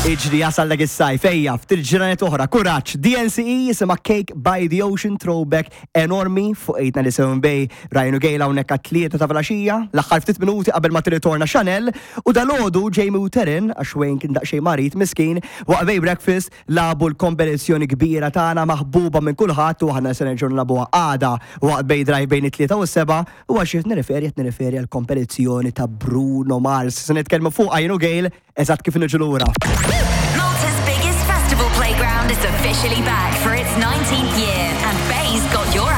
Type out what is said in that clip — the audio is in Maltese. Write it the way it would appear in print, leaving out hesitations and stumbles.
Iġri jasal dak is-sajf, ejja, ftit ġranet oħra, kuraġġ, DNCE jisimha Cake by the Ocean throwback enormi fuq 897 Bay, Ryan u Gail hawnhekk għat-tlieta ta' filgħaxija, l-aħħar ftit minuti qabel ma tirritorna Chanel, u dalgħodu Jamie u Taryn, għax Wayne kien daqsxejn marid miskin, waqt Bay Breakfast lagħbu l-kompetizzjoni kbira tagħna maħbuba minn kulħadd u aħna se nerġgħu nilagħbuha għada waqt Bay Drive bejn it-tlieta u s-sebgħa u għal xiex nirreferi qed nirreferi għall-kompetizzjoni ta' Bruno Mars. Se nitkellmu fuqha jien u Gail Eżatt kif niġu lura. Malta's biggest festival playground is officially back for its 19th year and Bay's got your